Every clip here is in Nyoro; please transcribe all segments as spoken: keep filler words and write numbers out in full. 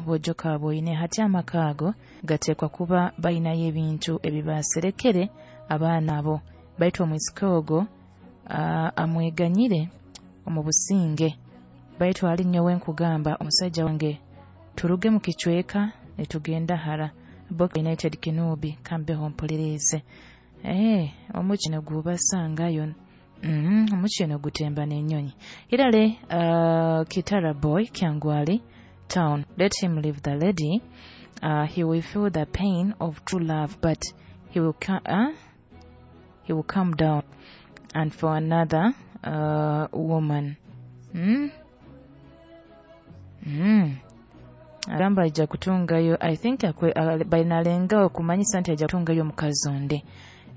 Bojo kaboine hati amaka ago gateekwa kuba balinayo ebintu ebibaserekere abaana abo, baitu omwisiki ogwo uh, amweganyire omu businge. Baitu ali nyowe nkugamba omusajja wange turuge mu kicweka nitugenda hara. Boka United Kinubi kambeho mpulirize. Eh, omukino gubasangayo. Mm, omukino gutemba n'ennyonyi. Irale uh, Kitara boy Kyangwali town. Let him leave the lady. Uh, he will feel the pain of true love, but he will ca- uh, he will calm down and for another uh, woman. Mm? Mm. Agamba aija kutungayo, I think akwe, uh, bainalenga okumanyisa nti aija kutungayo omukazi onde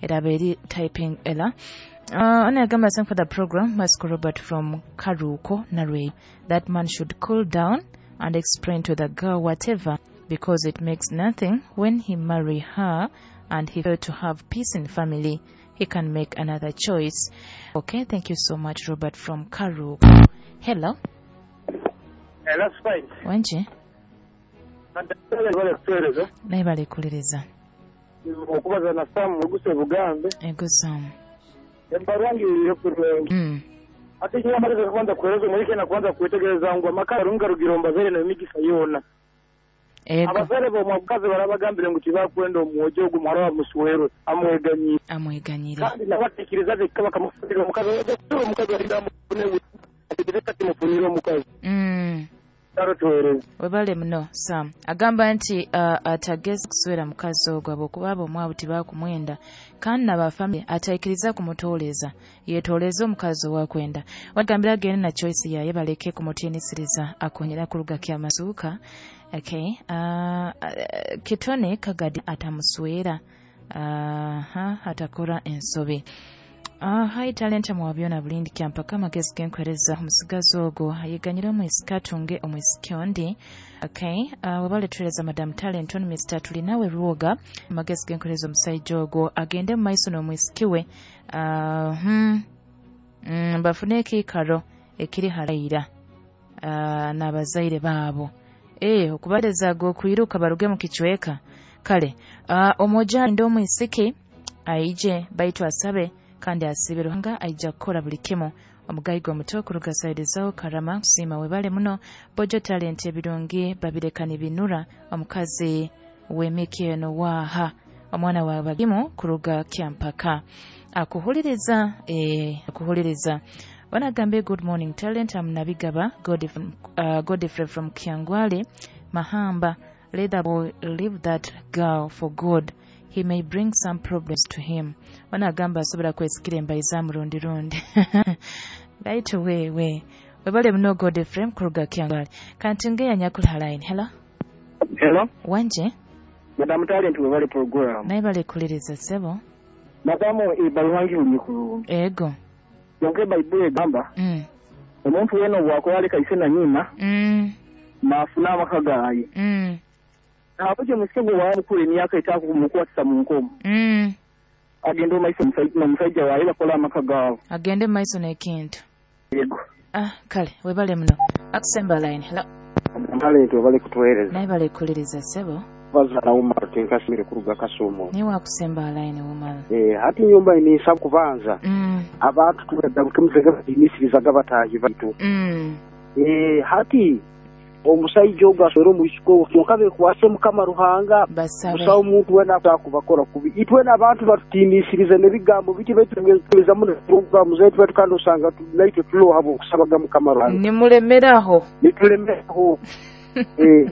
eraba eri typing error. Uh, ono agamba, "Thank for the program. Masco Robert from Karuko Narway. That man should cool down and explain to the girl whatever, because it makes nothing when he marry her and he failed to have peace in family. He can make another choice." Okay, thank you so much, Robert from Karuko. Hello. Hello, Spice. Wenje. Bale kutuweereza. Naye balekuliriza. Okubaza na Sam Muguse Bugambe. Ego, Sam. Ebbarwa ngirire kurungi. Mm. Ate kinyamaliza kubanza kuhereza omurike na kubanza kwetegereza ngu amaka arunga rugira ombazere n'emigisa yoona. Ego. Abazere b'omukazi barabagambire ngu tibakwenda omwojo ogu muhara wamuswerwe amweganyire. Amweganyire. Kandi nabatekereza beka bakamufunira omukazi, omukazi arinda amufune ategereza timufunire omukazi. Mm. Karo tuweereza. Webale muno, Sam. Agamba nti uh, atageza kuswera mukazi ogwo habwokuba abo omwabu tibakumwenda, kandi nabafamily ataikiriza kumutooleza, yetooleze omukazi owakwenda. Wagambira agende na choice yaye, baleke kumutiinisiriza. Akonyera kuruga kyamasuuka. Okay. uh, uh, kitone Kagadi atamuswera uh, atakora ensobi. Uh, hi Talenta mwabyona bulindi kyampaka, amagezi genkwereza omusigazi ogwo ayeganyire omwisiki atunge omwisiki ondi. Okay. uh, webale tuwereza, Madam Talent on Mister Tulinawe Ruoga. Amagezi genkwereza omusajja ogwo agende mu maiso n'omwisiki we, uh, hmm, mm, bafune ekiikaro ekiri haraira uh, n'abazaire baabo, eh okubaleza okwiruka baruge mu kicweka. Kale uh, omwojo alinde omwisiki aije, baitu asabe kandi asibe, Ruhanga aija kukora buli kimu. Omugayiga omuto kuruga saidizaho Karama, kusiima webale muno. Bojo Talent, ebirungi babireka nibinura, omukazi w'emiki eno waaha omwana wa bagimu kuruga Kyampaka akuhuliriza, eh, akuhuliriza. Wanagambe, "Good morning, Talent. I'm Nabigaba Godfrey, uh, Godfrey from Kyangwali Mahamba. Let the boy leave that girl for good. He may bring some problems to him." Wanagamba asobola kwesikira embayi za murundi rundi, baitu wewe webale muno, Godfrey kuruga Kyangwali. Kanti ngeya nyakula line. Hello. Hello. Wanje. Madam Talent, webale program. Naye balekuliriza, ssebo. Madamu, ebbaluwa ngirungi kurungi. Ego. Kyonka ebayibuli egamba mm. omuntu yena obwakola aleka ise na nyina Mm. naafuna amaka gaaye. Mm. Nabukyo omusike gwe wamukula emyaka etakumukwatisa mu nkomo Mm. agenda omaiso n'omusajja waaye bakola amaka gaabo. Agende mu maiso n'ekintu. Yego. Ah, kale webale muno. Akusemba line. Hello. Talent, webale kutuweereza. Naye balekuliriza, ssebo. Bazaala Umar Tinkasimire kuruga Kasumo. Niwe akusemba line, Umar. Eh, hati nyumba ninsaba kubanza mm. abantu tugaruke batiinisirizaga bataahi baitu. Mm. Eh, hati omusajja ogwo aswere omwisiki ogwo, kyonka bekwase Mukama Ruhanga. Basabe. Busaho omuntu wena akubakora kubi. Itwena abantu batutiinisirize n'ebigambo biti betugezamu programu zaitu baitu, kandi osanga tu- naitwe tuloha okusabaga Mukama Ruhanga. Nimulemeraho. Nitulemeraho. Eh,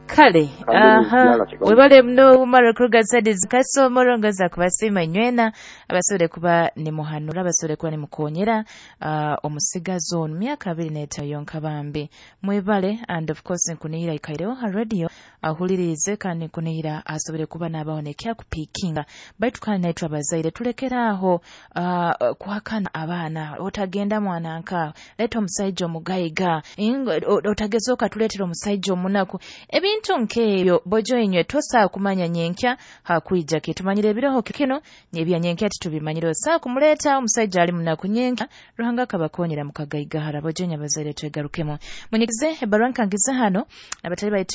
kale. Kale, aha. yala kigambo. Webale muno, Umar kuruga saidizi Kasomoro. Ngoza kubasiima nywena abasobole kuba nimuhanura, abasobole kuba nimukonyera uh, omusigazi ono myaka abiri n'etaano yonka. Bambi mwebale. And of course nkunihira ikaireho ha radio ahulirize, kandi nkunihira asobole kuba n'abaho nekyakupiikinga. Baitu kandi naitwe abazaire tulekeraaho uh, kuhakana abaana: "Otagenda mwana nkaawe, leeta omusajja omugayiga. Ingo- o- otageza okatuleetera omusajja omunaku." Ebintu nk'ebyo, bojo inywe tosaa kumanya nyenkya hakwija ki. Tumanyire ebiroho kino, ebya nyenkya titubimanyire. Osaa kumuleeta omusajja ali munaku, nyenkya Ruhanga akabakonyera mukagayigahara. Bojo inywe abazaire twegarukemu, munyigize ebbarua nkangiza hano abatali baitu.